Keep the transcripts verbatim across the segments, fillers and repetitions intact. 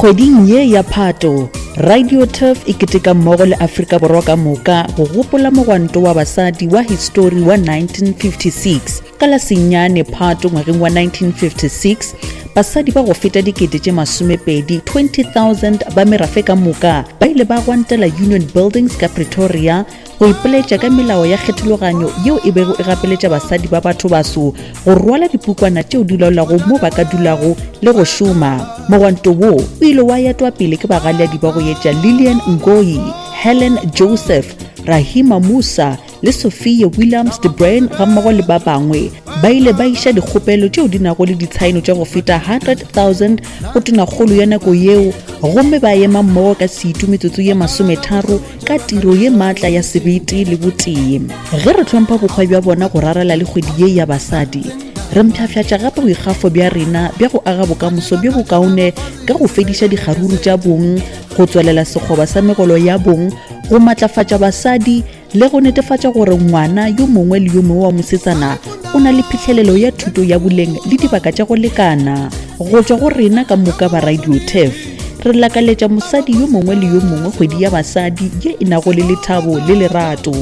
Kgweding ye ya Phato, Radio Turf e keteka mmogo le Afrika Borwa ka moka go gopola mogwanto wa basadi wa histori wa nineteen fifty-six. Ka la senyane Phato ngwageng wa nineteen fifty-six, basadi ba go feta dikete tše masomepedi twenty thousand ba merafe ka moka ba ile ba gwantela Union Buildings ka Pretoria go ipoletša ka melao ya kgethologanyo yeo e bego e gapeletša basadi ba batho baso go rwala dipukwana tšeo di laolago mo ba ka dulago le go šoma. Mogwanto wo o ile wa etwa pele ke bagaleadi ba go etša Lillian Ngoyi, Helen Joseph, Rahima Moosa le Sophia Williams de Bruyn gammogo le ba bangwe. Ba ile ba iša dikgopelo tšeo di nago le ditshaeno tša go feta hundred thousand go tonakgolo ya nako yeo, gomme ba ema mmogo ka setu metsotso ye masometharo ka tiro ye maatla ya sebete le botee. Ge re hlompha bokgwa bja bona go rarela le kgwedi ye ya basadi, re mpshafšatša gape boikgafo bja rena bja go aga bokamoso bjo bokaone ka go fediša dikgaruru tša bong, go tswelela sekgoba sa megolo ya bong, go matlafatša basadi le go netefatša gore ngwana yo mongwe le yo mongwe wa mosetsana o na le phihlelelo ya thuto ya boleng le dibaka tša go lekana. Go tšwa go rena ka moka ba Radio Turf, re lakaletša mosadi yo mongwe le yo mongwe kgwedi ya basadi ye e nago le lethabo le lerato.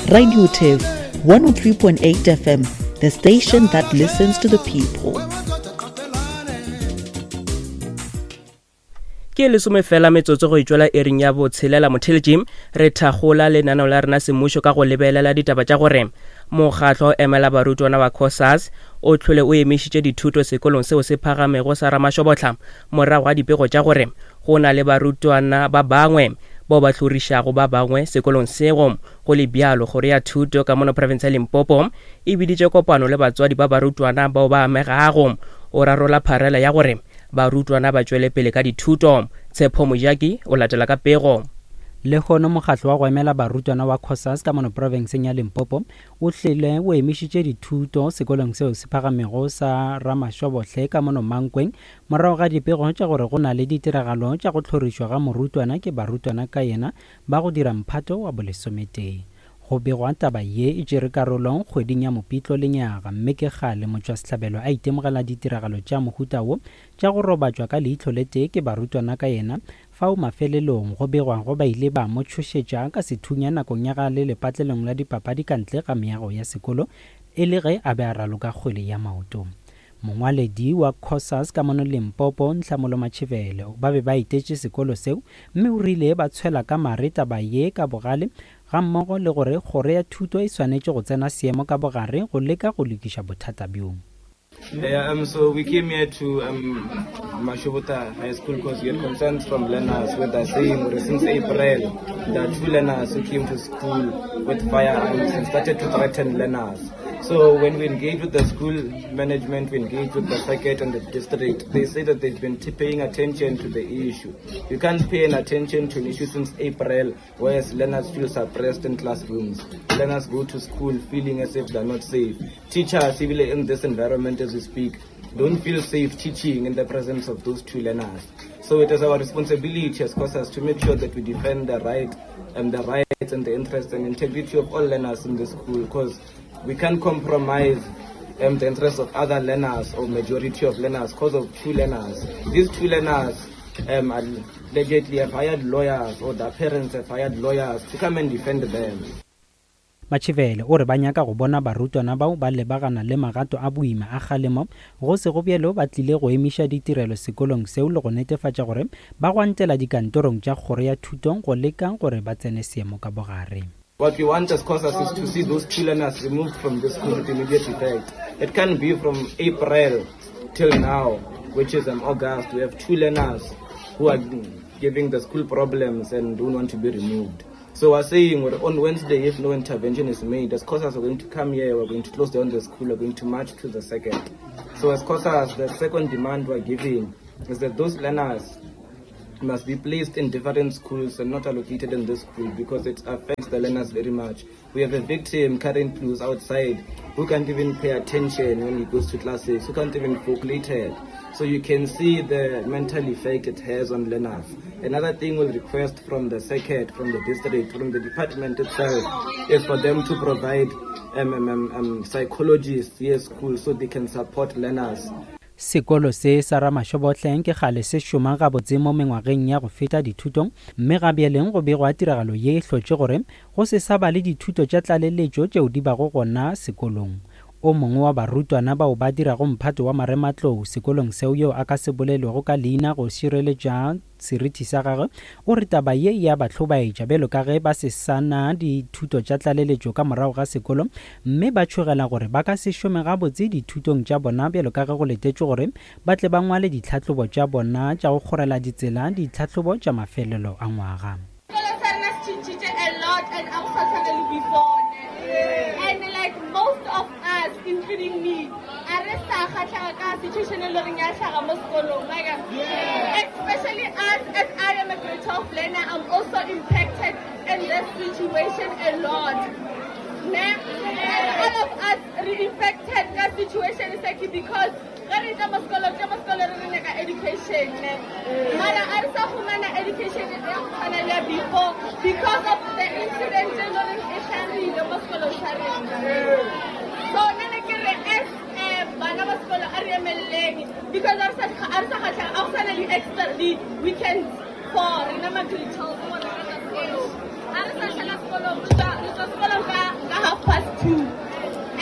Radio Turf one oh three point eight F M, the station that listens to the people. Ke lesome fela metsotso go itšwela ering ya botshelela motheletši. Re thagola lenaneo la rena semmušo ka go lebelela ditaba tša gore mokgatlo emela barutwana wa COSAS o tlhole o emišitše dithuto sekolong seo se phagamego sa Ramashobotla morago ga dipego tša gore go na le barutwana ba bangwe bao ba hlorišago ba bangwe sekolong seo. Go le bjalo, kgoro ya thuto ka mono province ya Limpopo e biditše kopano le batswadi ba barutwana bao ba amegago o rarola pharela ya gore barutwana ba tšwele pele ka dithuto. Tshepo Mojaki o latela ka pego. Lehono mokgatlo wa go emela barutwana wa COSAS ka mono profenseng ya Limpopo o hlile o emišitše dithuto sekolong seo se phagamego sa Ramashobohle ka mono Mankweng morago ga dipego tša gore go na le ditiragalo tša go hlorišwa ga morutwana ke barutwana ka yena ba go dira mphato wa bolesometee. Go begwa taba ye e tšere karolo kgweding ya Mopitlo lenyaga, mme ke kgale motšwasehlabelo a itemogela ditiragalo tša mohuta wo tša go robatšwa ka leihlo le tee ke barutwana ka yena. Fao mafelelong go begwago ba ile ba mo tšhošetša ka sethunya nakong ya ga le lepatlelong la dipapadi ka ntle ga meago ya sekolo e le ge a be a raloka kgwele ya maoto. Mongwaledi wa COSAS ka mono Limpopo, Nhlamulo Matšhivele, ba be ba etetše sekolo seo mme o rile ba tshwela ka mare taba ye ka bogale gammogo le gore kgoro ya thuto e swanetše go tsena seemo ka bogare go leka go lokiša bothata bjo. Yeah, um, so we came here to um, Mashobota High School because we had concerns from learners with the saying since April there are two learners who came to school with firearms and started to threaten learners. So when we engage with the school management, we engage with the circuit and the district, they say that they've been paying attention to the issue. You can't pay an attention to an issue since April, whereas learners feel suppressed in classrooms. Learners go to school feeling as if they're not safe. Teachers, even in this environment as we speak, don't feel safe teaching in the presence of those two learners. So it is our responsibility as COSAS to make sure that we defend the right and the rights and the interests and integrity of all learners in the school, because we can't compromise um, the interests of other learners or majority of learners because of two learners. These two learners um, allegedly have hired lawyers, or their parents have hired lawyers to come and defend them. Matšhivele o re ba nyaka go bona barutwana bao ba lebagana le magato a boima a kgalemo go se go bjalo ba tlile go emiša ditirelo sekolong seo le go netefatša gore ba gwantela dikantorong tša kgoro ya thuto go leka gore ba tsene seemo ka bogare. What we want as COSAS is to see those two learners removed from the school with immediate effect. It can be from April till now, which is in August. We have two learners who are giving the school problems and don't want to be removed. So we're saying on Wednesday, if no intervention is made, as COSAS are going to come here, we're going to close down the school, we're going to march to the second. So as COSAS, the second demand we're giving is that those learners must be placed in different schools and not allocated in this school, because it affects the learners very much. We have a victim currently who's outside who can't even pay attention when he goes to classes, who can't even calculate. So you can see the mental effect it has on learners. Another thing we'll request from the circuit, from the district, from the department itself, is for them to provide um, um, um, psychologists here at school so they can support learners. Sekolo se sa Ramashobothleng ke kgale se šoma gabotse mo mengwageng ya go feta dithutong, mme ga bjaleng go begwa tiragalo ye e hlotše gore go se sa ba le dithuto tša tlaleletšo tšeo di bago gona sekolong. O mongwe wa barutwana bao ba dirago mphato wa marematlou sekolong seo yo a ka se bolelwego ka leina go šireletša seriti sa gagwe o re taba ye ya ba hlobaetša bjalo ka ge ba se sa na dithuto tša tlaleletšo ka morago ga sekolo, mme ba tšhogela gore ba ka se šome gabotse dithutong tša bona bjalo ka ge go letetšwe gore ba tle ba ngwale ditlhahlobo tša bona tša go kgorela ditsela ditlhahlobo tša mafelelo a ngwaga. Sekolo sa rena se tšhintšhitše a lot and a go sa tshwana le before ne. And like most of us including me a re sa kgatlhega ka situation e le goreng ya hlaga mo sekolong like especially us as I am a grade twelve learner, I'm also impacted in this situation a lot ne. And all of us re infected ka situation e because ge re tla mo sekolong tša mo sekolong re re nyaka education ne, mara a re sa fumana education ya go tshwana le ya before because of the incident e le goreng e hlagile mo sekolong sa rena. So nna ne ke re as bana ba sekolo a re emeleleng because a re sa kgatlhega a go sana le extra di-weekends for rena ma-grade twelve gore re tla sekolong. A re sa šala sekolong, re tswa sekolong ka half past two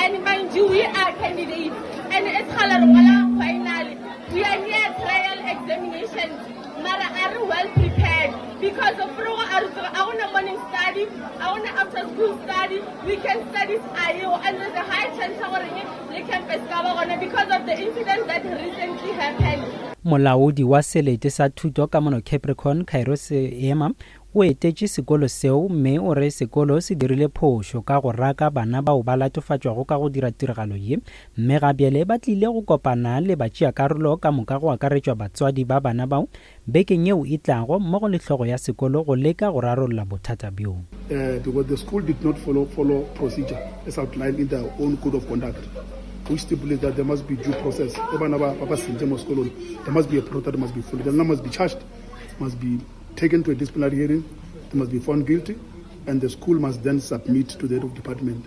and mind you we are candidates and it's kgale re ngwala final, we are near trial examinations mara a re well prepared because of frogo a re tsebe a gona morning study, a gona after school study, weekend studies a eo, and there's a high chance ya gore le campus ka ba gona because of the incident that recently happened. Molaodi wa selete sa thuto ka mono Capricorn Cairo Seema o etetše sekolo seo mme o re sekolo se dirile phošo ka go raka bana bao ba latofatšwago ka go dira tiragalo ye, mme ga bjale ba tlile go kopana le batšeakarolo ka moka go akaretšwa batswadi ba bana bao bekeng yeo e tlago mmogo le hlogo ya sekolo go leka go rarolla bothata bjo. Uh, because the school did not follow, follow procedure as outlined in their own code of conduct, which stipulates that there must be due process. There must be a process that must be followed. The learner must be charged, must be taken to a disciplinary hearing, they must be found guilty, and the school must then submit to the head of department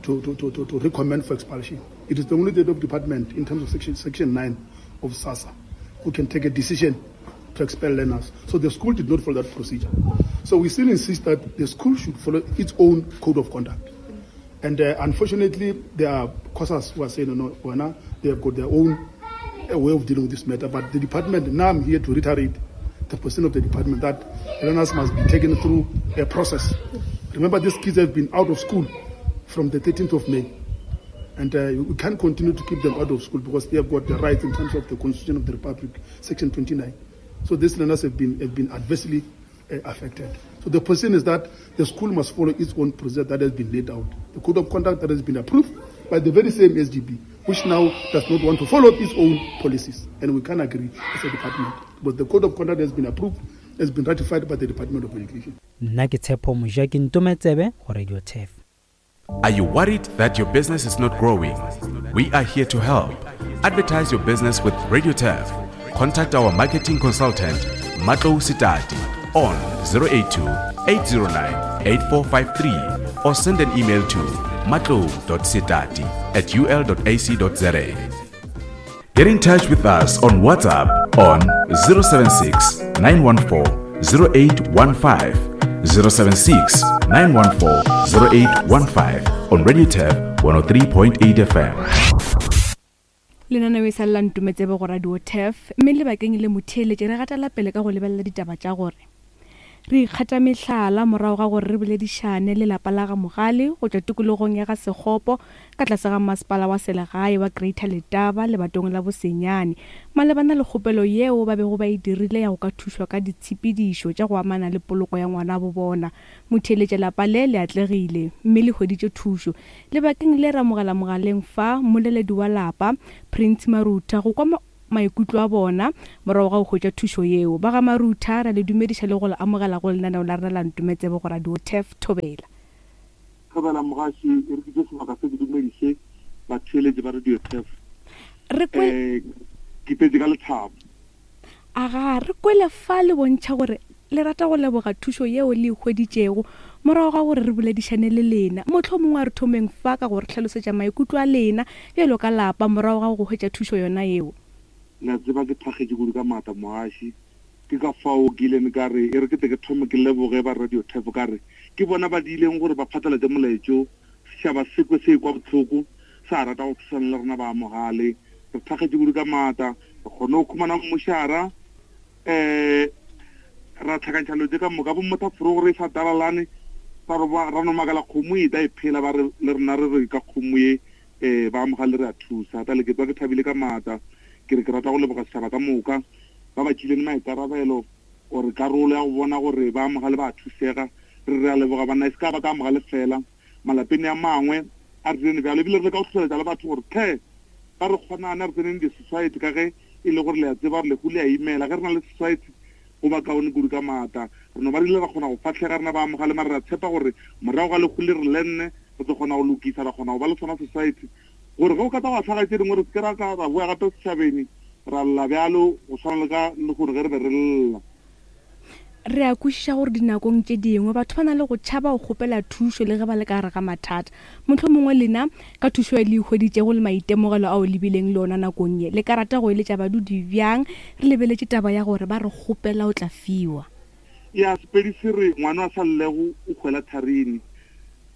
to, to, to, to, to recommend for expulsion. It is the only head of department in terms of section, section nine of SASA who can take a decision to expel learners. So the school did not follow that procedure. So we still insist that the school should follow its own code of conduct. And uh, unfortunately, there are COSAS who are saying, no, no, they have got their own uh, way of dealing with this matter. But the department, now I'm here to reiterate the position of the department that learners must be taken through a process. Remember, these kids have been out of school from the thirteenth of May. And uh, we can't continue to keep them out of school because they have got the right in terms of the Constitution of the Republic, Section twenty-nine. So these learners have been, have been adversely uh, affected. So the position is that the school must follow its own procedure that has been laid out, the code of conduct that has been approved by the very same S G B, which now does not want to follow its own policies. And we can't agree as a department. But the code of conduct has been approved, has been ratified by the Department of Education. Nna ke Tshepo Mojaki Ntometsebe go Radio Turf. Are you worried that your business is not growing? We are here to help. Advertise your business with Radio Turf. Contact our marketing consultant, Matlou Sitati, on zero eight two, eight zero nine, eight four five three or send an email to matlou dot sitati at u l dot a c dot z a. Get in touch with us on WhatsApp on zero seven six, nine one four, zero eight one five, zero seven six, nine one four, zero eight one five on Radio Turf one oh three point eight F M. Lenaneo e sa lela Ntometsebe go Radio Turf, mme lebakeng le motheeletše re gatela pele ka go lebelela ditaba tša gore re ikgata mehlala morago ga gore re boledišane le lapa la ga Mogale go tšwa tikologong ya ga Sekgopo ka tlase ga masepala wa selegae wa Greater Letaba lebatong la Bosenyane malebana le kgopelo yeo ba bego ba e dirile ya go ka thušwa ka ditshepedišo tša go amana le poloko ya ngwana bo bona. Motheeletše lapa le le atlegile mme le hweditše thušo. Lebakeng le re amogela mogaleng fa mmoleledi wa lapa Prince Marutha go kwa maikutlo a bona morago ga go hwetša thušo yeo. Ba ga Marutha ra le dumediša le go le amogela go lenaneo la rena la Ntometsebe go Radio Turf. Thobela. Thobela mogaši, e re ke tše sebaka se ke dumediše batheeletši ba Radio Turf. Re kwe Eh, ke tletse ka lethabo. Aga, re kwele fa le bontšha gore Le rata go leboga thušo yeo le e hweditšego morago ga gore re boledišane le lena. Mohlomongwe a re thomeng fa ka go re hlalosetša maikutlo a lena bjalo ka lapa morago ga go hwetša thušo yona yeo. La tseba ke thakgetše kudu ka maatla moaši. Ke ka fao ke ileng ka re e re ke tle ke thome ke leboge ba Radio Turf ka re ke bona ba diileng gore ba phatlalatše molaetšo, setšhaba se kwe se ekwa bohloko, sa rata go thusana le rena ba amogale. Re thakgetše kudu ka maatla, re kgone go khumana mmošara, um ra tlhakantšha dilo tše ka moka. Bo mothaphoro gore e sa talalane, ra re ba- ra no makala kgomo e tla e phela, ba re le rena re re ka kgomo ye um ba amogale re a thusa. Tale ke tswa ke thabile ka maatla, ke re ke rata go leboga setšhaba ka moka ba ba tšileng maikarabelo gore karolo ya go bona gore ba amogale ba thusega. Re re a leboga banna, e se ka ba ka amogale fela malapeng a mangwe a re direng bjalo, ebile re leka go tlhotlheletša le batho gore tlhe ba re kgonane re tseneng di-society ka ge e le gore le a tseba gore lehu le a imela. Ge re na le society go ba kaone kudu ka maatla. Re no ba re ile ra kgona go fahlega rena ba amogale, mare re a tshepa gore morago ga lehu le re lenne re tlo kgona go lokisa, ra kgona go ba le sona society gore ge o ka tla wa hlaga tše dingwe re se ke ra tla ra boya gape setšhabeng ra lla bjalo go tshwana le ka le gore ge re be re lla. Re a kwešiša gore dinakong tše dingwe batho ba na le go tšhaba go kgopela thušo le ge ba le ka gare ga mathata. Mohlomongwe lena ka thušo e le e hweditšego le maitemogelo ao le bileng le ona nakong ye, le ka rata go eletša badudi bjang re lebeletše taba ya gore ba re kgopela o tla fiwa? Ya Sepedi se re ngwana a sa llego o hwela tharini.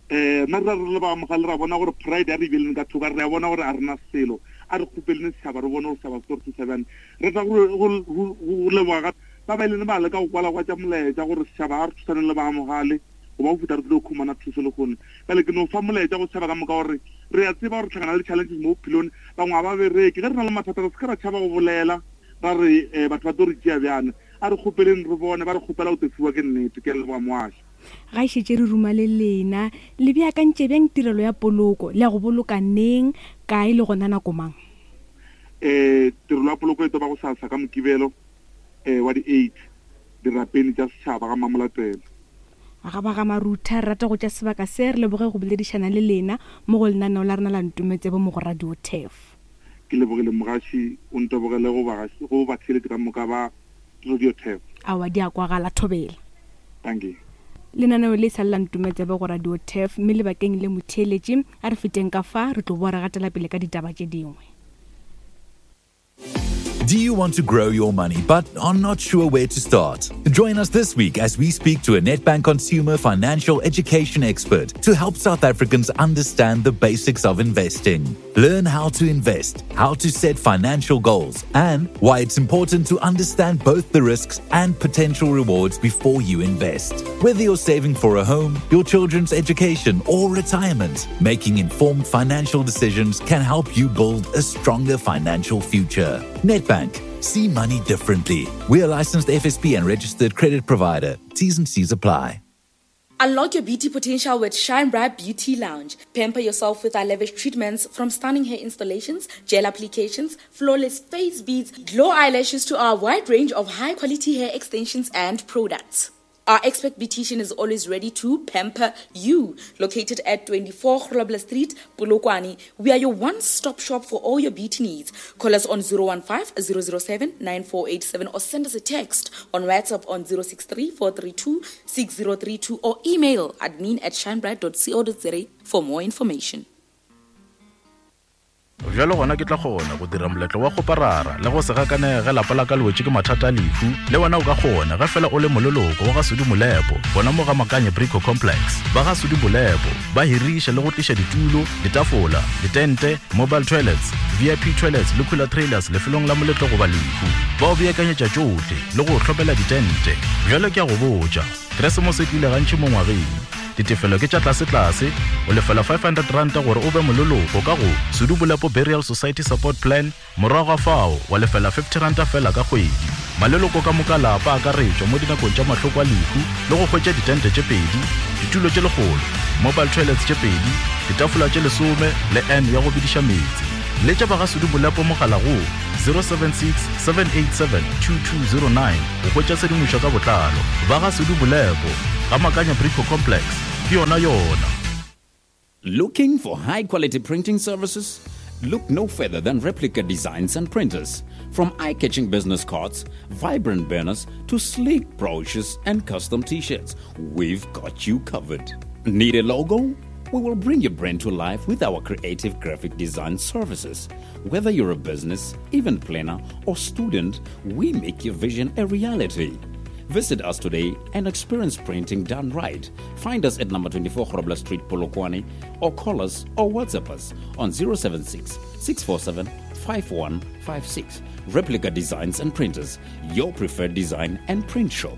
Um nna re re le ba amogale ra bona gore pride a re ibeleng ka thoko, re a bona gore a rena selo, a re kgopeleng setšhaba re bone gore setšhaba se tlo re thusa bjang. Re tla go leboga ba ba ileng ba leka go kwalakwatša molaetša gore setšhaba a re thusaneng le ba amogale goba go fihla re tlile go khumana thuso le kgone. Bjale ke no fa molaetša go setšhaba ka moka gore re a tseba gore tlhakana le challenges mo bophelong, bangwe ga ba bereke. Ge re na le mathata re se ke ra tšhaba go bolela ra re um batho ba tlo re tšea bjana, a re kgopeleng re bone ba re kgopela go tlo fiwa ke nnete. Ke a leboga moaši. Ga e šetše re ruma le lena, le beakantše bjang tirelo ya poloko, le ya go boloka neng, kae le gona nako mang? Um tirelo ya poloko e tlo ba go sasa ka Mokibelo um wa di-eight dirapeng tša setšhaba ga Mamolatela. Ga ba ga Marutha, re rata go tša sebaka se re leboge go boledišana le lena mo go lenaneo la rena la Ntometsebo mo go Radio Turf. Ke lebogile mogaši, o ntebogele go bagaši, go batheeletši ka moka ba Radio Turf. Aowa, di a kwagala, thobela. Thank you. Lenaneo le sa le la Ntometsebo go Radio Turf, mme lebakeng le motheeletši a re feteng ka fa re tlo boa re gatela pele ka ditaba tše dingwe. Do you want to grow your money but are not sure where to start? Join us this week as we speak to a Nedbank consumer financial education expert to help South Africans understand the basics of investing. Learn how to invest, how to set financial goals, and why it's important to understand both the risks and potential rewards before you invest. Whether you're saving for a home, your children's education, or retirement, making informed financial decisions can help you build a stronger financial future. Nedbank. See money differently. We are licensed F S P and registered credit provider. T's and C's apply. Unlock your beauty potential with Shine Bright Beauty Lounge. Pamper yourself with our lavish treatments, from stunning hair installations, gel applications, flawless face beads, glow eyelashes to our wide range of high-quality hair extensions and products. Our expert beautician is always ready to pamper you. Located at twenty-four Grobler Street, Polokwane, we are your one-stop shop for all your beauty needs. Call us on zero one five, zero zero seven, nine four eight seven or send us a text on WhatsApp on zero six three, four three two, six zero three two or email admin at shinebright dot co dot za for more information. Bjalo gona ke tla kgona go dira moletlo wa go parara le go se gakanege ge lapa la ka le wetše ke mathata a lehu. Le wena o ka kgona ge fela o le moleloko wa ga Sudi Molepo, bona mo ga Makanye Brico Complex. Ba ga Sudi Molepo ba hiriša le go tliša ditulo, ditafola, ditente, mobile toilets, V I P toilets le cooler trailers lefelong la moletlo goba lehu. Ba o beakanyetša tšohle le go hlopela ditente. Bjalo ke a go botša, Keresemose e tlile gantši mo ngwageng. Ditefelo ke tša tlase-tlase, o lefela five hundred rand gore o be moleloko ka go Sudi Molepo Burial Society Support Plan, morago ga fao wa lefela fifty rand fela ka kgwedi. Maleloko ka moka lapa a akaretšwa mo dinakong tša mahloko a lehu le go hwetša ditente tše pedi, ditulo tše lekgolo, mobile toilets tše pedi, ditafola tše lesome le N ya go bediša meetse. Letša ba ga Sudi Molepo mogala go zero seven six, seven eight seven, two two zero nine go hwetša tshedimošo ka botlalo. Ba ga Sudi Molepo ga Makanya Brico Complex, ke yona yona. Looking for high-quality printing services? Look no further than Replica Designs and Printers. From eye catching business cards, vibrant banners, to sleek brochures and custom t shirts, we've got you covered. Need a logo? We will bring your brand to life with our creative graphic design services. Whether you're a business, event planner, or student, we make your vision a reality. Visit us today and experience printing done right. Find us at number twenty-four Grobler Street, Polokwane, or call us or WhatsApp us on zero seven six, six four seven, five one five six. Replica Designs and Printers, your preferred design and print shop.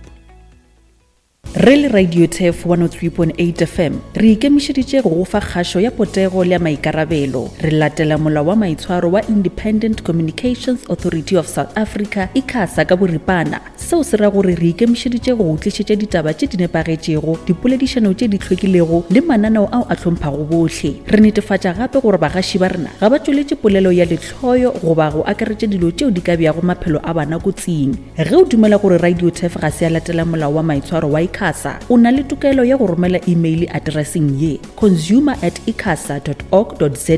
Re le Radio Turf one oh three point eight F M re ikemišeditše go go fa kgašo ya potego le ya maikarabelo. Re latela molao wa maitshwaro wa Independent Communications Authority of South Africa, ICASA ka boripana. Seo se ra gore re ikemišeditše go go tlišetša ditaba tše di nepagetšego, dipoledišano tše di hlwekilego le mananeo ao a hlomphago bohle. Re netefatša gape gore bagaši ba rena ga ba tšweletše polelo ya lehloyo goba go akaretša dilo tšeo di ka beago maphelo a bana kotsing. Ge o dumela gore Radio Turf ga se ya latela molao wa maitshwaro wa ICASA, o na le tokelo ya go romela email addresseng ye consumer at icasa dot org dot za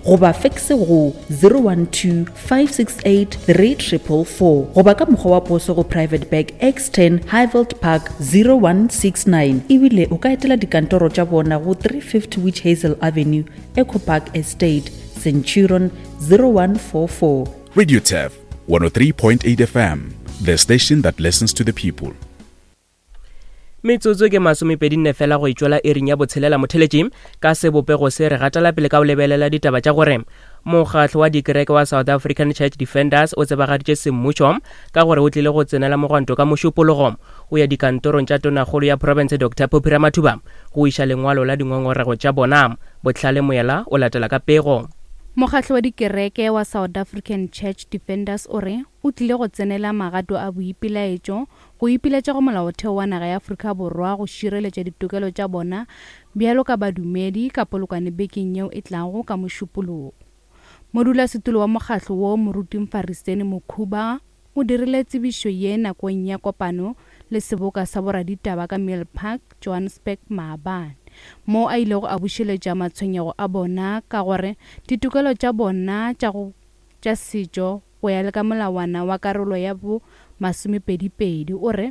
goba fax go zero one two, five six eight, three triple four goba ka mokgwa wa poso go Private Bag X ten Highveld Park zero one six nine. Ebile o ka etela dikantoro tša bona go three fifty Witch Hazel Avenue, Echo Park Estate, Centurion zero one four four. Radio Turf one oh three point eight F M, the station that listens to the people. Metsotso ke masomepedi nne fela go itšwela ering ya botshelela motheletši. Ka sebopego se re gatela pele ka go lebelela ditaba tša gore mokgatlo wa dikereke wa South African Church Defenders o tsebagaditše semmušo ka gore o tlile go tsenela mogwanto ka mošupologo o ya dikantorong tša tonakgolo ya province Doctor Phophi Ramathuba go iša lengwalo la dingongorego tša bona. Botlhale Moela o latela ka pego. Mokgatlo wa dikereke wa South African Church Defenders o re o tlile go tsenela magato a boipelaetšo go ipiletša go molaotheo wa naga ya Afrika Borwa go šireletša ditokelo tša bona bjalo ka badumedi ka Polokwane bekeng yeo e tlago ka mošupologo. Modulasetulo wa mokgatlo wo Moruti Mfariseni Mokhuba o dirile tsebišo ye nakong ya kopano le seboka sa boraditaba ka Mill Park, Johannesburg maabane, mo a ilego a bušeletša matshwenyego a bona ka gore ditokelo tša bona tša go tša setšo go ya le ka molawana wa karolo ya bo masomepedipedi. O re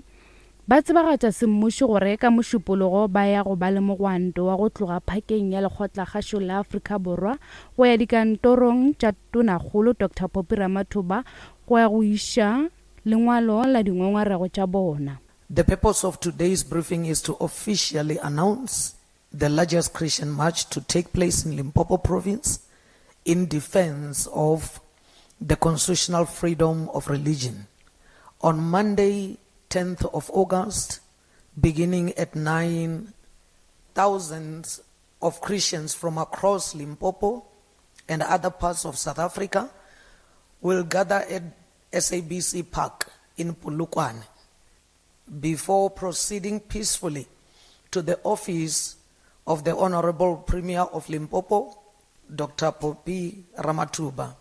ba tsebagatša semmušo gore ka mošupologo ba ya go ba le mogwanto wa go tloga phakeng ya lekgotlakgašo la Afrika Borwa go ya dikantorong tša tonakgolo Doctor Phophi Ramathuba go ya go iša lengwalo la dingongorego tša bona. The purpose of today's briefing is to officially announce the largest Christian march to take place in Limpopo province in defense of the constitutional freedom of religion. On Monday, tenth of August, beginning at nine, thousands of Christians from across Limpopo and other parts of South Africa will gather at S A B C Park in Polokwane before proceeding peacefully to the office of the Honorable Premier of Limpopo, Doctor Phophi Ramathuba,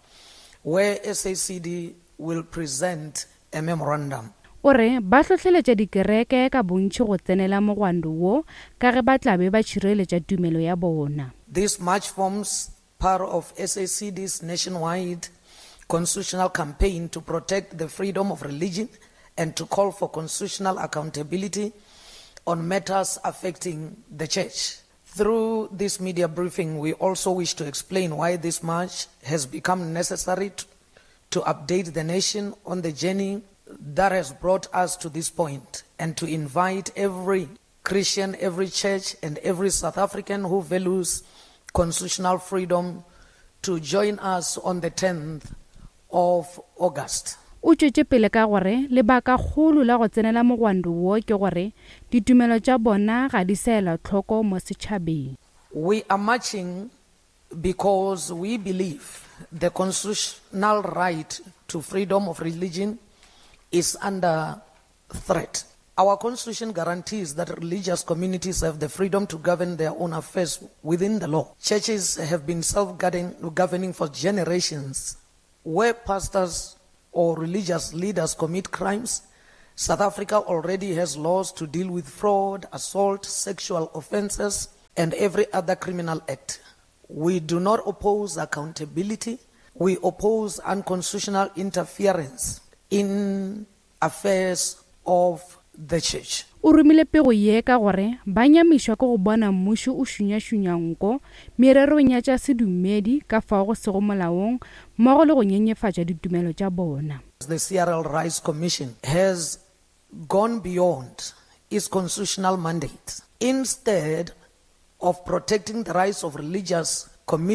where S A C D will present a memorandum. O re ba hlohleletša dikereke ka bontši go tsenela mogwanto wo ka ge ba tla be ba tšhireletša tumelo ya bona. This march forms part of S A C D's nationwide constitutional campaign to protect the freedom of religion and to call for constitutional accountability on matters affecting the church. Through this media briefing, we also wish to explain why this march has become necessary to, to update the nation on the journey that has brought us to this point, and to invite every Christian, every church, and every South African who values constitutional freedom to join us on the tenth of August. O tšwetše pele ka gore lebakakgolo la go tsenela mogwanto wo ke gore ditumelo tša bona ga di sa elwa hloko mo setšhabeng. We are marching because we believe the constitutional right to freedom of religion is under threat. Our constitution guarantees that religious communities have the freedom to govern their own affairs within the law. Churches have been self-governing for generations. Where pastors or religious leaders commit crimes, South Africa already has laws to deal with fraud, assault, sexual offenses, and every other criminal act. We do not oppose accountability, We oppose unconstitutional interference in affairs of the church. O romile pego ye ka gore ba nyamišwa ke go bona mmušo o šunyašunya nko mererong ya tša sedumedi ka fao go sego molaong mmogo le go nyenyefatša ditumelo tša bona. The C R L Rights Commission has gone beyond its constitutional mandate. Instead of protecting the rights of religious communities,